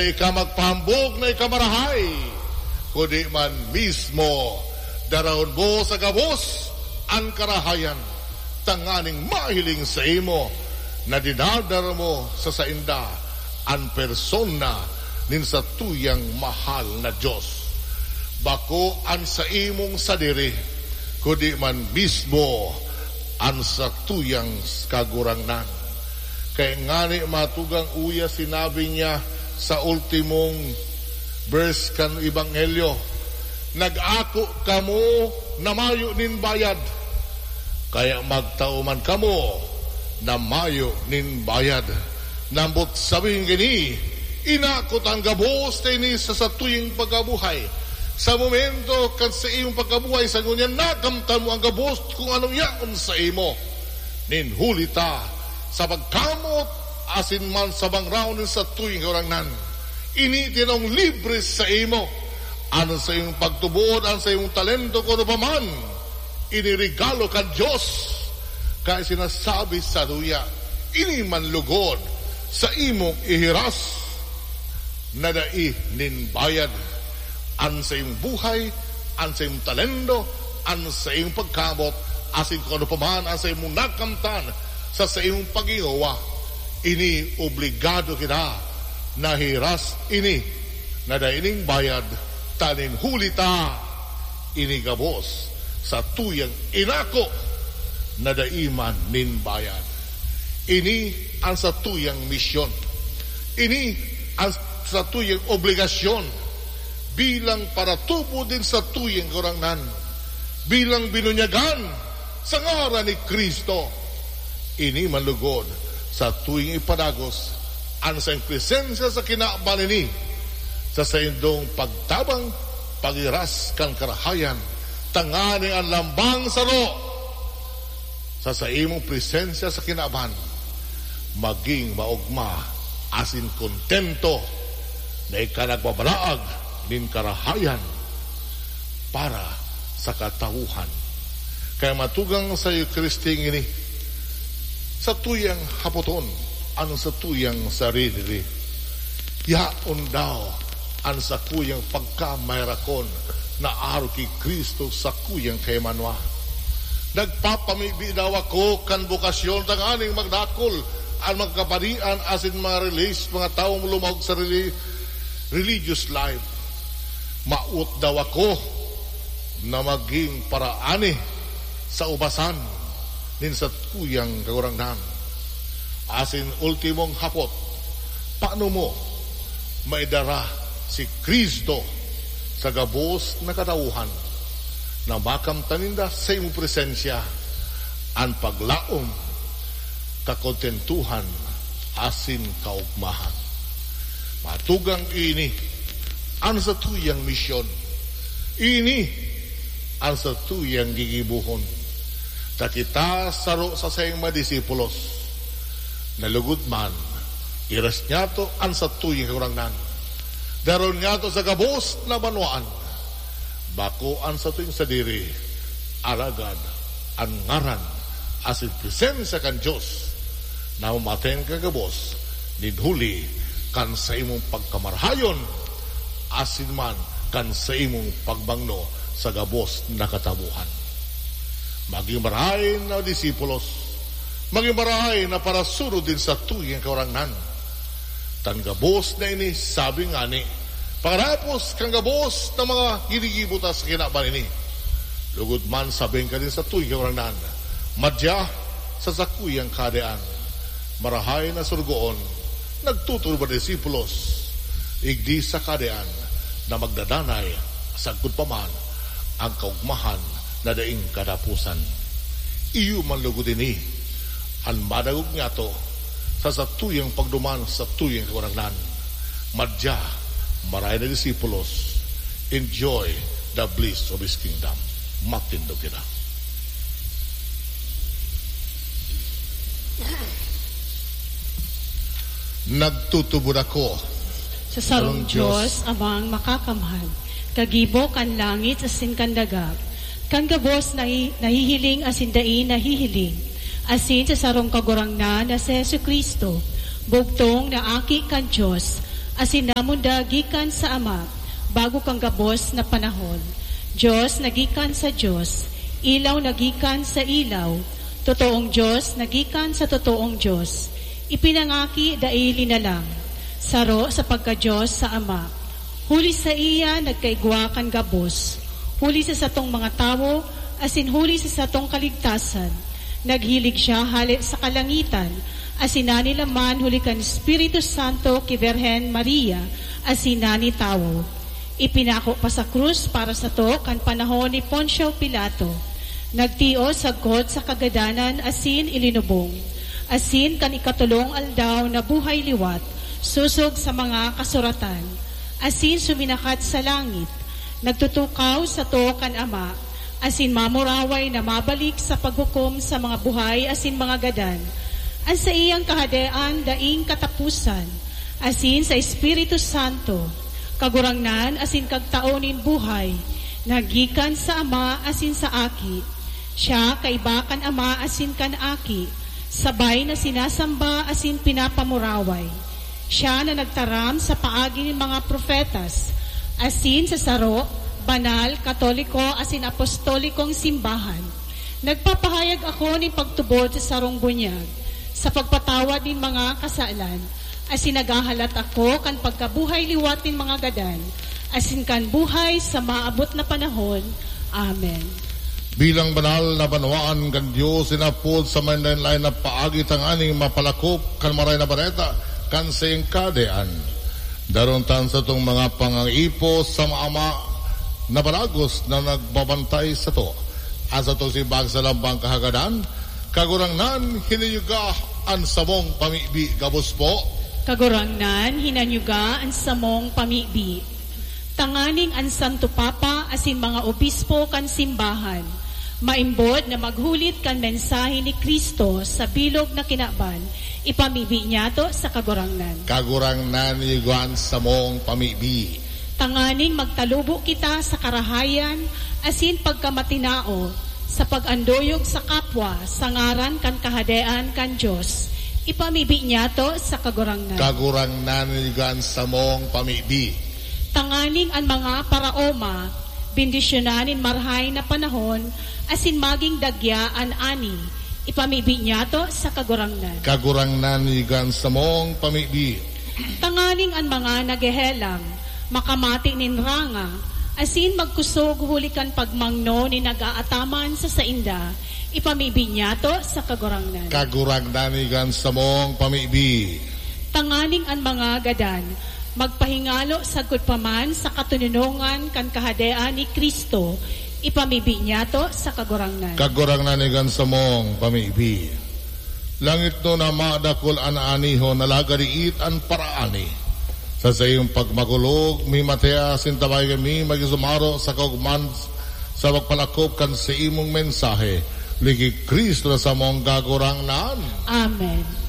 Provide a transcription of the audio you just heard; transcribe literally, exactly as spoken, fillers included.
Ika magpahambog na ika marahay, kundi man mismo darahon mo sa gabos an karahayan, tanganing mahiling saimo na dinadara mo sa sainda an persona nin satuyang mahal na Dios. Bako an saimong sadiri, kundi man mismo an satuyang Kagurangnan. Kaya ngani matugang uya sinabi niya sa ultimong verse kan Ebanghelyo, "Nag-ako kamo na mayo nin bayad, kaya magtao man kamo na mayo nin bayad." Nambot sabihin gini, inako ta an gabos na ini sa satuyang pagkabuhay. Sa momento kan saimong pagkabuhay, sa ngunyan nakamtan mo an gabos kung anong yaon sa imo. Nin huli ta sa pagkamot asin man sa bangraw nin satuyang Kagurangnan. Ini tinong libre sa imo. An saimong pagtubod, an saimong talento, kung ano pa man, ini regalo kan Dios. Kaya sinasabi sa duya, ini man lugod sa imong ihiras na dai nin bayad. An saimong buhay, an saimong talento, an saimong pagkamot, asin kung ano pa man an saimong nakamtan sa saimong paghingowa, ini obligado kita na hiras ini na dai nin bayad, ta nin huli ta ini gabos satuyang inako na dai man nin bayad. Ini an satuyang misyon. Ini an satuyang obligasyon bilang paratubo nin satuyang Kagurangnan, bilang binunyagan sa ngaran ni Cristo. Ini man lugod satuyang ipadagos an saiyang presensya sa kinaban ini, sa saindong pagtabang, paghiras kan karahayan, tanganing an lambang saro sa saimong presensya sa kinaban, maging maogma asin kontento na ika nagbabalaag nin karahayan para sa katawhan. Kaya matugang sa Eucharistia ini, satuyang hapoton an satuyang sariri. Yaon daw an sakuyang pagkamairakon na arog ki Cristo, sakuyang kaimanwa. Nagpapamibi daw ako kan bokasyon tanganing magdakul an mga kapadian asin mga relis-, mga tawong lumahog sa reli-, religious life. Mawot daw ako na maging paraani sa ubasan nin sakuyang Kagurangnan. Asin ultimong hapot, paano mo maidara si Cristo sa gabos na katawhan na makamtan ninda sa imong presensya an paglaom, kakontentuhan, asin kaogmahan? Matugang ini an satuyang misyon. Ini an satuyang gigibohon. Ta kita saro sa saiyang mga disipulos, na lugod man, hiras niyato an satuyang Kagurangnan. Daron niyato sa gabos na banwaan, bako an satuyang sadiri, alagad an ngaran asin presensya kan Dios na mamaten kan gabos nin huli kan saimong pagkamarahayon asin man kan saimong pagmangno sa gabos na katawohan. Magin marahay na disipulos, magin marahay na parasunod nin satuyang Kagurangnan. Tan gabos na ini, sabi ngani, pakarapos kan gabos na mga ginigibo ta sa kinaban ini, lugod man sabi kan satuyang Kagurangnan, madya sa sakuyang kahadean. Marahay na sorogoon, nagtutubod na disipulos, igdi sa kahadean na magdadanay sagkod pa man an kaogmahan na daing kataposan. Iyo man lugod ini an madangog niyato sa satuyang pagduman sa satuyang Kagurangnan. Madya, marahay na disipulos, enjoy the bliss of His kingdom. Matindog kita. Nagtutubod ako sa sarong Diyos, Amang Makakamhan, kagibo kan langit asin kan daga, kan gabos na hi-, nahihiling asin dai nahihiling, asin sa sarong Kagurangnan na si Jesu-Cristo, bugtong na Aki kan Diyos, Asin namundag gikan sa Ama, bago kan gabos na panahon. Dios na gikan sa Dios, ilaw na gikan sa ilaw, totoong Dios na gikan sa totoong Dios. Ipinangaki dai linalang, saro sa pagka-Dios sa Ama. Huli saiya nagkaigwa kan gabos, huli sa satong mga tawo, asin huli sa satong kaligtasan. Naghilig siya hale sa kalangitan, asin nanilaman huli kan Espiritu Santo ki Birhen Maria, asin nani tawo. Ipinako pa sa krus para sato kan panahon ni Poncio Pilato. Nagtios sagkod sa kagadanan asin ilinubong. Asin kan ikatolong aldaw nabuhay liwat, sosog sa mga kasuratan. Asin suminakat sa langit. Nagtutukaw sato kan Ama, asin mamuraway na mabalik sa paghukom sa mga buhay asin mga gadan. An saiyang kahadean daing kataposan, asin sa Espiritu Santo, Kagurangnan asin Kagtao nin buhay, na gikan sa Ama asin sa Aki. Siya kaiba kan Ama asin kan Aki, sabay na sinasamba asin pinapamuraway. Siya na nagtaram sa paagi nin mga propetas, asin sa saro, banal, katoliko asin apostolikong simbahan. Nagpapahayag ako nin pagtubod sa sarong bunyag, sa pagpatawad nin mga kasalan, asin naghahalat ako kan pagkabuhay liwat nin mga gadan, asin kan buhay sa maabot na panahon. Amen. Bilang banal na banwaan kan Dios, inapod sa manlaen-laen na paagi tanganing mapalakop kan Maray na Bareta kan saiyang Kahadean. Darontan satong mga pangaipo sa Ama na baragos na nagbabantay sato. An satong simbag sa lambang kahagadan, Kagurangnan, hinanyuga an samong pamibi gabos po. Kagurangnan, hinanyuga an samong pamibi. Tanganing an Santo Papa asin mga obispo kan simbahan maimbod na maghulit kan mensahe ni Cristo sa bilog na kinaban, ipamibi niyato sa Kagurangnan. Kagurangnan, hinanyuga an samong pamibi. Tanganing magtalubo kita sa karahayan asin pagkamatinao sa pag-anduyog sa kapwa sa ngaran kan Kahadean kan Dios, ipamibi niyato sa Kagurangnan. Kagurangnan, hinanyuga an samong pamibi. Tanganing an mga paraoma bendisyonan nin marahay na panahon asin magin dagya an ani, ipamibi niyato sa Kagurangnan. Kagurangnan, hinanyuga an samong pamibi. Tanganing an mga naghehelang makamate nin ranga asin magkusog huli kan pagmangno nin nag-aataman sa sainda, ipamibi niyato sa Kagurangnan. Kagurangnan, hinanyuga an samong pamibi. Tanganing an mga gadan magpahingalo sagkod pa man sa katononongan kan Kahadean ni Cristo, ipamibi niyato sa Kagurangnan. Kagurangnan, hinanyuga an samong pamibi. Langitnon na madakul an aanihon, alagad iit an paraani. Sa saiyang pagmakulog, mi matea sintabay kami magisumaro sa kaogman sa pagpalakop kan saimong mensahe. Liki Cristo na samong Kagurangnan. Amen.